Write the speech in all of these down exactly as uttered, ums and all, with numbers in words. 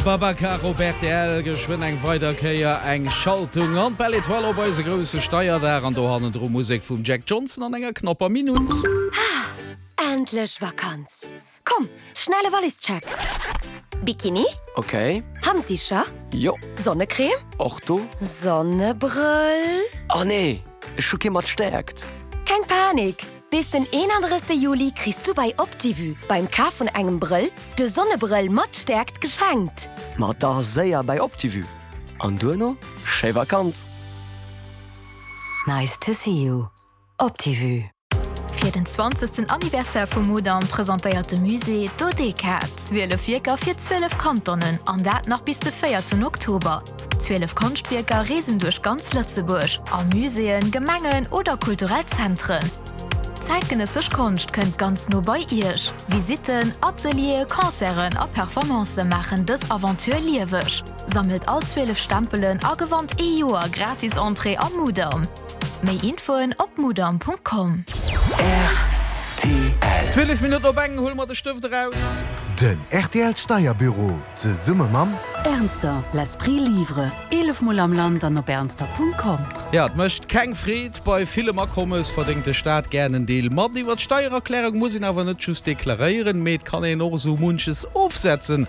Babacar op rtl, geschwënn eng weider Kéier eng Schaltung an d'Belle Etoile op eise grousse Steierdag an do hannendru Musek vum Jack Johnson an enger knapper Minutt. Endlech Vakanz. Komm, schnelle Wallischeck. Bikini? Okay. Handdicher? Jo. Sonnecreme? Och do. Sonnebrëll? Oh nee, ech hu kee mat Stäerkt. Keng Panik! Bis den eenandrëssegste Juli kriss du bei Optivue beim Kaf vun engem Brëll de Sonnebrëll mat Stäerkt geschenkt. Ma da séier bei Optivue. An duerno schéi Vakanz. Nice to see you. Optivue. Fir den zwanzegsten Anniversaire vum Mudam presentéiert de Musée Dodeka, zwielef Wierker fir zwielef Kantonen, an dat nach bis de véierten Oktober. Zwielef Konschtwierker reesen duerch ganz Lëtzebuerg, a Muséeën, Gemengen oder kulturell Zentren. Zäitgenëssesch Konscht kënnt ganz no bei Iech. Visitten, Atelieren, Concerten a Performancë maachen dës Aventure lieweg. Sammelt all zwielef Stempelen a gewannt ee Joer gratis Entrée am Mudam. Méi Infoen op mudam.com. Rtl. Zwielef Minutten op eng, huele mer de Stëft eraus. Den rtl Steierbüro zesumme mam. Ernster, l'esprit livre, eelef mol am Land an op ernster.com. Ja, et mécht keng Freed, bei villem Akommes verdéngt de Staat gären en Deel mat. Iwwer d'Steiererklärung muss een awer net just deklaréieren, mee et kann een och esou munches ofsetzen.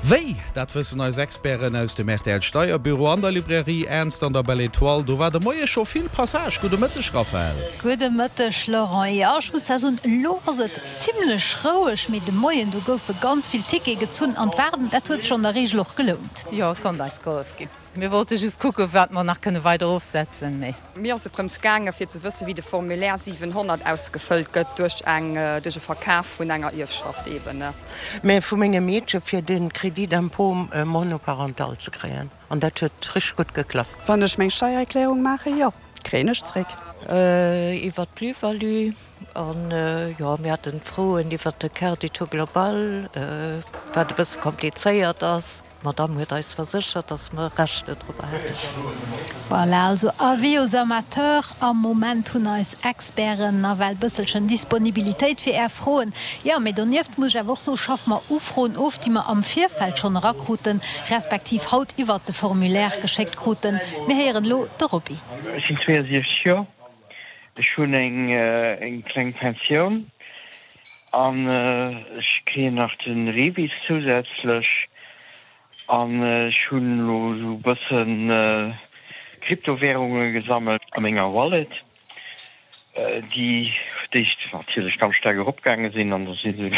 Wéi? Dat wëssen eis Experten aus dem rtl Steierbüro an der Librairie Ernster an der Belle Etoile. Do war de Moie scho vill Passage. Gudde Mëtteg, Raphaëlle. Gudde Mëtteg, Laurent. Jo, ech muss da soen, elo ass et zimlech roueg, mee de Moien, do goufe ganz vill Tickete gezunn an d'Waarden, dat huet sech an der Reegel och gelount. Jo, et konnt eis gehollef ginn. Mir wollte just kucken, wat mer nach kënne weider ofsetzen, mee. Mir ass et drëms gaangen, fir ze wëssen, wéi de Formulaire siwenhonnert ausgefëllt gëtt duerch eng, duerch e Verkaf vun enger Ierfschaft eben. Mä vu mengem Meedche fir de Crédit d'impôt monoparental ze kréien. An dat huet richteg gutt geklappt. Wann ech meng Steiererklärung maachen, jo, kréien ech zréck. Iwwer d'Plus-value an jo, mir haten Froen iwwer de Quart du taux global, wat e bësse komplizéiert ass. D'Madame huet eis verséchert, dass mer Recht dorobber hätten. Voilà, also avis aux amateurs, am Moment hunn eis Experten nawell bësselchen Disponibilitéit fir Är Froen. Jo, mee donieft muss ech awer och soen, schaffe mer Ufroen of, déi mer am Virfeld schonn erakruten, respektiv haut iwwert de Formulaire geschéckt kruten. Mir héieren elo de Roby. Ech sinn zweeësiechzeg Joer, ech hunn eng kleng Pensioun an ech kréien nach de REVIS zousätzlech an ech hunn elo esou e bëssen Kryptowärunge gesammelt a menger Wallet, déi d'éischt natierlech ganz staark eropgaange sinn an da si se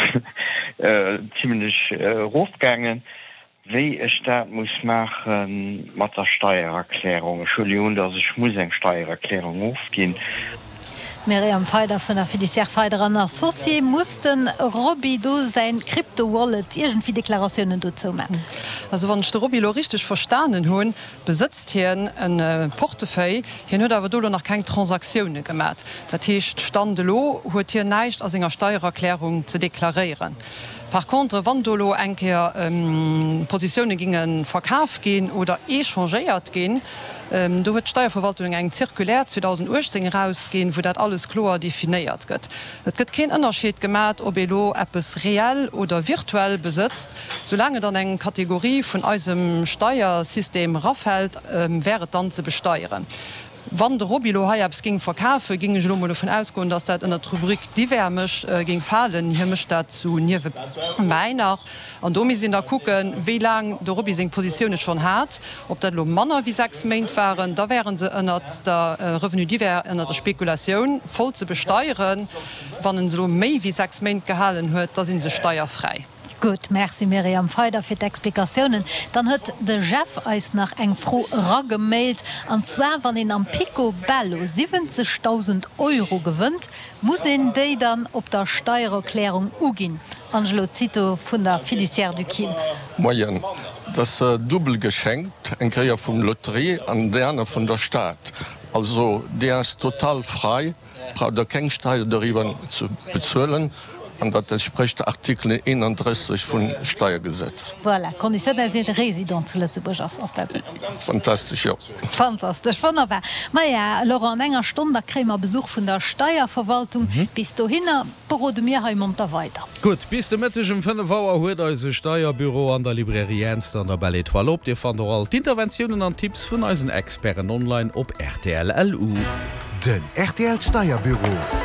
zimlech erofgaangen. Wéi ech dat muss maache mat der Steiererklärung. Ech huele jo un, datt ech muss eng Steiererklärung ofginn. D'Myriam Feider vun der Fiduciaire Feider an Associés, Muss de Roby do säin Crypto-Wallet iergendwéi Deklaratiounen dozou man? Also wann ech de Roby elo richteg verstanen hunn, besëtzt hien e Portefeuille, hien huet awer do elo nach keng Transaktioune gemat. Dat heescht, Stand elo huet hien näischt a senger Steiererklärung ze deklaréieren. Par contre, wann do elo eng Kéier Positioune ginge verkaf ginn oder échangéiert ginn, do huet d'Steierverwaltung eng Circulaire zweedausenduechtzéng erausginn, wou dat alles kloer definéiert gëtt. Et gëtt keen Ënnerscheed gemat, ob ee lo eppes reell oder virtuell besëtzt. Soulaang et an eng Kategorie vun eisem Steiersystem erafält, wär et dann ze besteieren. Wann de Roby elo hei eppes géing verkafen, géing ech elo mol dovun ausgoen, dass dat ënnert d'Rubrik divers mech géing falen. Hie mécht dat sou niewebäi nach. An do misst een da kucken, wéi laang de Roby seng Positioune schonn hat. Ob dat elo manner wéi sechs Méint waren, da wäre se ënnert der Revenu divers, ënnert der Spekulatioun voll ze besteieren. Wann en se elo méi wéi sechs Méint gehalen huet, da si se steierfräi. Gutt, merci Myriam Feider fir d'Explikatiounen. Dann huet de Jeff eis nach eng Fro eragemailt, an zwar, Wann een am Pico Bello siwwenzegdausend Euro gewënnt, muss een déi dann op der Steiererklärung uginn? Angelo Zito vun der Fiduciaire du Kim. Moien, dat ass dubbel geschenkt, eng Kéier vum Lotterie an déi aner vun der Stad. Also déi ass total frei, braucht der keng Steier doriwwer ze bezuelen. an dat entsprécht Artikel eenandrësseg vum Steiergesetz. Voilà, Konditioun, dass een Résident zu Lëtzebuerg ass, ass dat esou? Fantastesch, jo. Fantastesch, wonnerbar. Maja, Laurent, an enger Stonn, da kréie mer Besuch vun der Steierverwaltung. Bis dohinner berode mir hei monter weider. Gutt, bis de Mëtteg um fënnef Auer huet eise Steierbüro an der Librairie Ernster an der Belle Etoile op. Dir fannt och all d'Interventiounen an Tipps vun eisen Experten online op rtl. LU. Den rtl Steierbüro.